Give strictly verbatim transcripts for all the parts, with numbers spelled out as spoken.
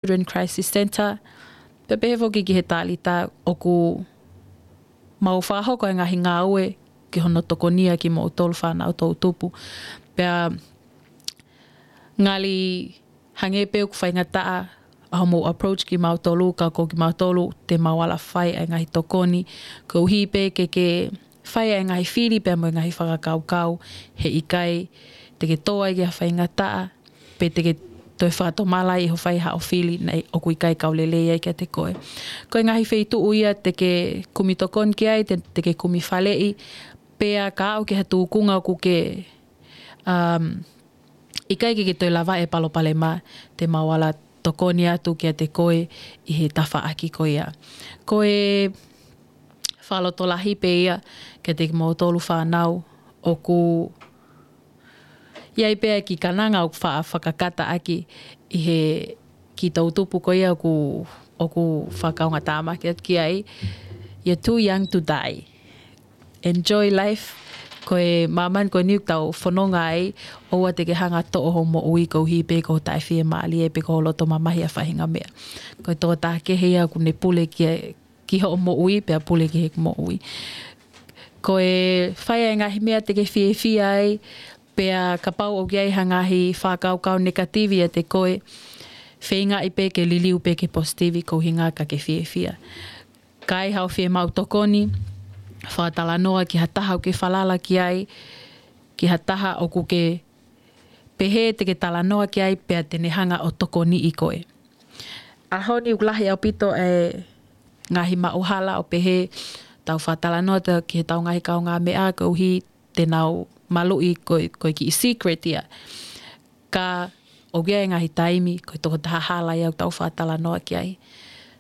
Children Crisis Center, pea pehē foki ki he Talita ʻoku mau fakahoko e ngaahi ngāue ki hono tokonia kimoutolu fānau toʻutupu. Pea ngali hangē pē ʻoku faingataʻa ʻa hoʻomou approach kimautolu, ka ko kimautolu te mau ala fai ʻa e ngaahi tokoni, koeʻuhi pē ke ke fai ʻa e ngaahi fili pea mo e ngaahi fakakaukau, heʻikai te ke tō ai ki ha faingataʻa, pe te ke toe fakatomala ʻi hoʻo fai haʻo fili naʻe ʻoku ʻikai kau lelei ai kiate koe. Ko e ngaahi feituʻu ia te ke kumi tokoni ki ai, te, te ke kumi faleʻi, pea ka aʻu ki ha tūkunga ʻoku ke, um, ʻikai ke ke toe lava e palopalema, te mau ala tokoni atu kiate koe ʻi he tafaʻaki ko ia. Ko e fakalotolahi pē ia kiate kimoutolu fānau, ʻoku ʻi ai pē ʻa e kiʻi kananga ʻoku fa-, fakakata ʻaki ʻi he kiʻi toʻutupu ko ia ʻoku, ʻoku fakaongo tāmaki atu ki ai, "You're too young to die. Enjoy life." Ko e māmani ko eni ʻoku tau fononga ai, ʻoua te ke hanga ʻo toʻo hoʻo moʻui koeʻuhi pē ko hoʻo taʻefiemālie pe ko hoʻo loto mamahi ʻa e faʻahinga meʻa. Ko e tokotaha kehe ia ʻoku ne pule ki, ki hoʻo moʻui pea pule ki heʻeku moʻui. Ko e fai ʻa e ngaahi meʻa te ke fiefia ai, pea kapau ʻoku ʻi ai ha ngaahi fakakaukau negative ʻiate koe, feingaʻi pē ke liliu pē ki he positive koeʻuhi ka ke fiefia. Ka ʻi ai haʻo fiemaʻu tokoni, fakatalanoa ki ha taha ʻoku ke falala ki ai, ki ha taha ʻoku ke pehē te ke talanoa ki ai pea te ne hanga ʻo tokoniʻi koe. ʻAho ni ʻoku lahi ʻaupito e ngaahi maʻuhala ʻo pehē tau fakatalanoa ta-, ki heʻetau ngaahi kaungāmeʻa koeʻuhi te nau maluʻi ko e, ko e kiʻi secret ia. Ka ʻoku ʻi ai e ngaahi taimi, ko e tokotaha hala ia ʻoku tau fakatalanoa ki ai.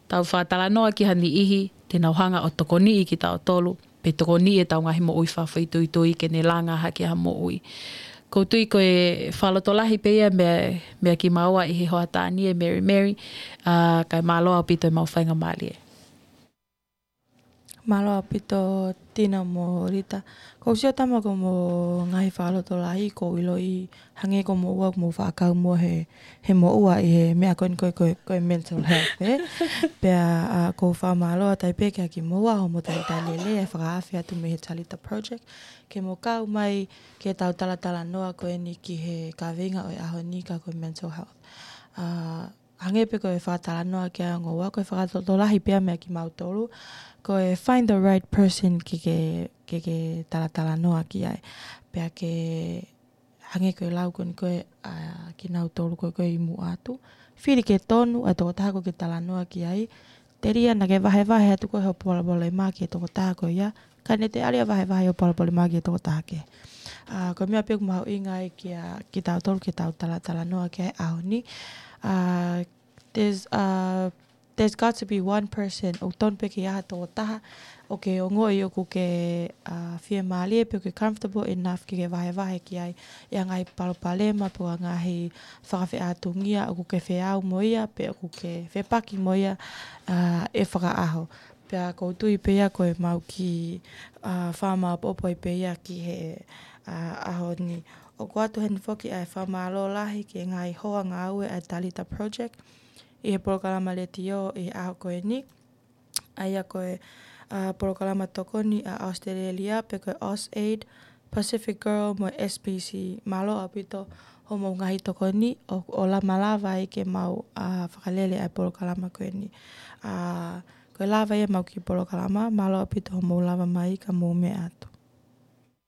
Tau fakatalanoa ki ha niʻihi, te nau hanga ʻo tokoniʻi kitautolu, pe tokoniʻi ʻetau ngaahi moʻui fakafoʻituitui ke ne langa hake ha moʻui. ʻOku ou tui ko e fakalotolahi pē ia meia, meia kimaua ʻi he hoʻatā ni ʻe Mary Mary, ā, kae mālō ʻaupito ʻemau faingamālie. Mālō ʻaupito Tina mo Rita. ʻOku ou sio Tama ko hoʻomou ngaahi fakalotolahi ʻoku ou ʻiloʻi hangē ko hoʻomou ua, ko hoʻomou fakakaukau mo e, he moʻua ʻi he meʻa ko eni ko e, ko e, ko e mental health, ē? Pea, ā, ʻoku ou fakamālō atu ai pē kia kimoua hoʻomou talitali lelei ʻa e fakaafe atu mei he Talita Project ke mou kau mai ke tau talatalanoa ko eni ki he kaveinga ʻo e ʻaho ni ka ko e mental health. Ā, hangē pē ko e fakatalanoa ki ai ʻa ngoua, ko e fakalotolahi pē ia meia kimautolu, ko e find the right person ke ke, ke ke talatalanoa ki ai. Pea ke hangē ko e lau ko eni ko e, ā, kinautolu ko e, ko e ʻi muʻa atu. Fili ke tonu ʻa e tokotaha ʻoku ke talanoa ki ai. Telia naʻa ke vahevahe atu koe hoʻo palopalema ki he tokotaha ko ia, ka ne telia vahevahe hoʻo palopalema ki he tokotaha kehe. Ā, ko e meʻa pē ʻoku mahuʻinga ai kia kitautolu ke tau talatalanoa ki ai he ʻaho ni. Ā, there's, ā, there's got to be one person, ʻoku tonu pē ke ʻi ai ha tokotaha ʻoku ke ongoʻi ʻoku ke, ā, fiemālie pe ʻoku ke comfortable enough ke ke vahevahe ki ai ʻa e ngaahi palopalema pe ko e ngaahi fakafeʻātungia ʻoku ke feau mo ia pe ʻoku ke fepaki mo ia, ā, ʻi he fakaʻaho. Pea ʻoku ou tui pē ia ko ʻemau kiʻi, ā, fakamāʻopoʻopo ai pē ia ki he, ā, ʻaho ni. ʻOku ʻoatu heni foki ʻa e fakamālō lahi ki he ngaahi hoa ngāue ʻa e Talita Project ʻi he polokalama letiō ʻi he ʻaho ko eni. ʻA ia ko e, ā, polokalama tokoni ʻa ʻAositelēlia pe ko e AusAID, Pacific Girl mo e S P C. Mālō ʻaupito hoʻomou ngaahi tokoni ʻo, ʻo lamalava ai ke mau, ā, fakalele ʻa e polokalama ko eni. Ā, ko e lava ia ʻemau kiʻi polokalama, mālō ʻaupito hoʻomou lava mai ka mou meʻa atu.